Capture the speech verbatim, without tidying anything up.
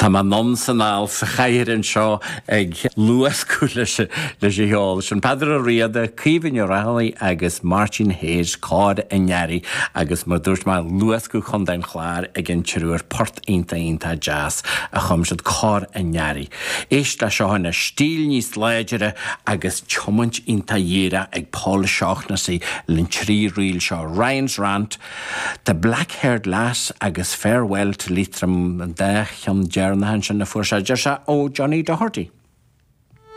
Tá mé anonn 's anall sa chathaoir anseo ag luascadh leis leis an cheol. Sin Peadar Ó Riada, Caoimhe Ní Raghallaigh agus Máirtín Hayes Cor an Earraigh agus mar dúirt mé luascadh Chontae an Chláir ag an triúr port iontach iontach deas a chum siad Cor an Earraigh. Éist le seo ina stíl níos láidre agus tiomáint iontach dhíreach ag Paul Shaughnessy le trí ríl seo Ryan's Rant, The Black-Haired Lass agus Farewell to Leitrim an dá cheann deireanacha ansin a fuair sé deir sé ó Johnny Doherty.